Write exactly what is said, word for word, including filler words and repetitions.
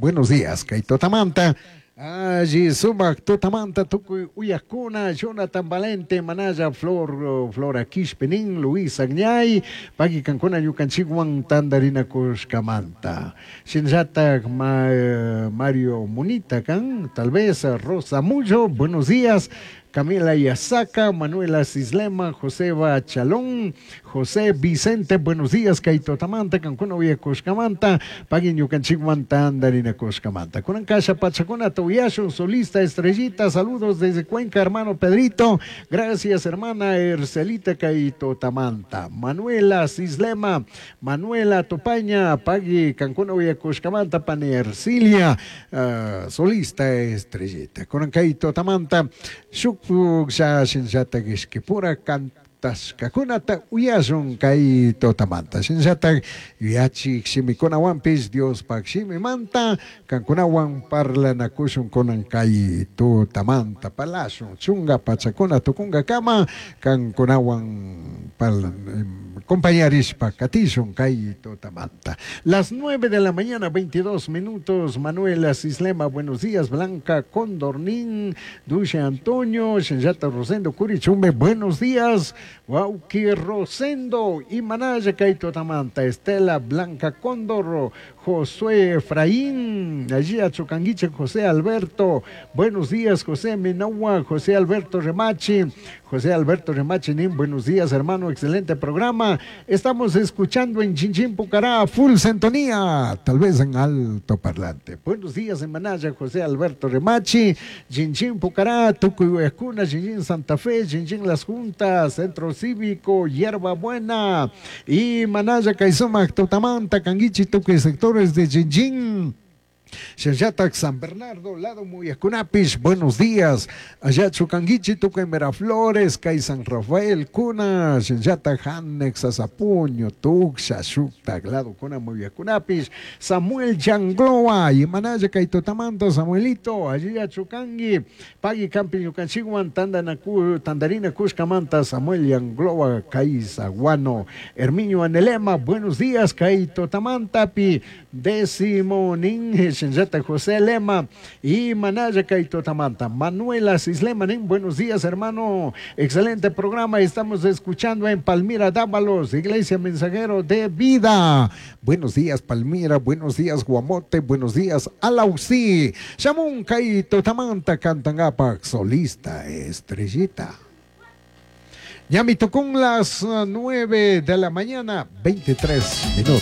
Buenos días, kay tutamanta. Alli sumak tutamanta tukuy uyakuna, Jonathan Valente, Manaya Flor, Flora Quishpenin, Luis Agñay, pagui kankuna ñukanchikwan tandarinakushkamanta. Shinallatak ma, Mario Munita kan, tal vez Rosa Mullo, buenos días. Camila Yasaca, Manuela Cislema, Joseba Chalón, José Vicente, buenos días, kay tutamanta, kankuna uyakushkamanta, pagui ñukanchikwan tandarinakushkamanta. Kunan kasha pachakunata uyashun, solista Estrellita, saludos desde Cuenca, hermano Pedrito, gracias hermana Ercelita kay tutamanta, Manuela Cislema, Manuela Tupaña, pagui kankuna uyakushkamanta, pani Ercilia, uh, solista Estrellita. Kunan kay tutamanta, shuk shinllatak ishkipura kantashkakunata uyashun kay tutamanta. Shinllatak yuyachik shimikunawanpish Diospak shimimanta kankunawan parlanakushun kunan kay tutamanta parlashun chunga pachakuna tukunkakama kankunawan parlan compañarishpa katishun kay tutamanta. Las nueve de la mañana, veintidós minutos, Manuela Cislema, buenos días, Blanca Condornín, Dulce Antonio, Shinjata Rosendo Curichumbe, buenos días, Wauki Rosendo y Manaya kay tutamanta, Estela Blanca Cóndor, Josué Efraín, allí a Chocanguiche, José Alberto, buenos días, José Minagua, José Alberto Remachi, José Alberto Remachi, nin, buenos días, hermano, excelente programa. Estamos escuchando en Chinchín Pucará, full sintonía, tal vez en alto parlante. Buenos días en Manaya, José Alberto Remachi, Chinchín Pucará, Tucuyuecuna, Chinchín Santa Fe, Chinchín Las Juntas, Centro Cívico, Hierba Buena, y Manaya, Caizoma, Totamanta, Canguichi, Tucuy, sectores de Chinchín. Xallatak San Bernardo, lado Muyacunapis, buenos días. Allá Chucanguichi, Tuca en Miraflores, Cay San Rafael, Cuna, Xallatak Hanex, Azapuño, Tuxa, Xuctac, lado Cuna, Muyacunapis, Samuel Yangloa, y Manaya, Caitotamanta, Samuelito, allí a Chucangui, Pagui Campi, Yucanchiguan, Tandanacu, Tandarina, Cuscamanta, Samuel Yangloa, Caizaguano, Herminio Anelema, buenos días, Caitotamanta, Pi, décimo Ninge, Shinjata José Lema y Manaya Kaitotamanta. Manuela Cislema, buenos días, hermano. Excelente programa. Estamos escuchando en Palmira Dávalos, Iglesia Mensajero de Vida. Buenos días, Palmira. Buenos días, Guamote. Buenos días, Alausí. Shamun Kaitotamanta, Cantangapac, solista Estrellita. Ya me tocó las nueve de la mañana, veintitrés minutos.